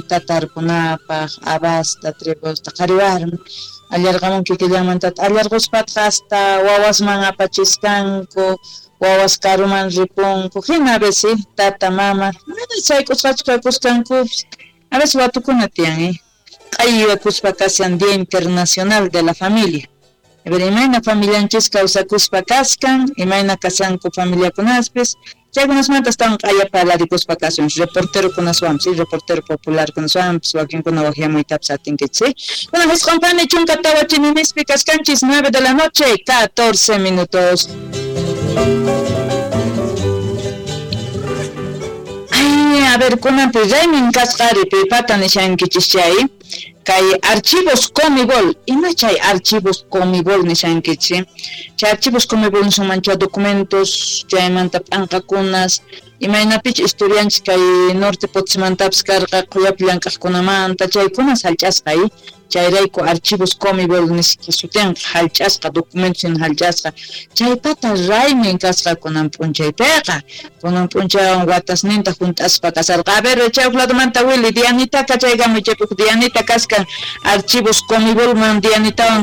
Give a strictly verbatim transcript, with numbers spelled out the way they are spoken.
Tarpunapaq, habasta, trigosta, qhari warmi allarqamun kikillanmantataq allarquspataq hasta wawasman apachiskanku, wawas karuman ripunku, hina a veces tata mama mana sayk'usqachu kakusqankupis, a veces watukuna tiyan eh q'ayyakuspa kashan Día Internacional de la Familia. A ver, imayna familianchis kawsakuspa kaskan, imayna kashanku familiakunaspis, chaykunasmanta astawan q'aya parlarikuspa kasun, reportero kunaswanpis, ¿sí? Reportero popular kunaswanpis, wakinkuna waqyamuytapis atinkichis, ¿sí? Bueno, jisq'unpani chunka tawa chininispi kaskanchis, nueve de la noche, catorce minutos. Ay, a ver, kunanpi raymin kasqari pipata nishankichis chay, kay archivos Comibol, ima chay archivos Comibol nishankichis, chay archivos Comibol nisunman chay documentos, chaymanta p'anqakunas, imaynapich historianchis kay norte Potosímantapis karqa qhuyapi llank'aqkunamanta, chaykunas hallch'asqa, eh? Chayrayku archivos Comibol nisqa sutinqa hallch'asqa, documentos hina hallch'asqa, chaypata raymin kasqa kunan p'unchaypiqa, kunan p'unchaywan watasninta hunt'aspa kasarqa. A ver, chay huk ladomanta Willy, Dianitaka chaykamuy chaypi Dianita kaskan archivos Comibolman Dianitawan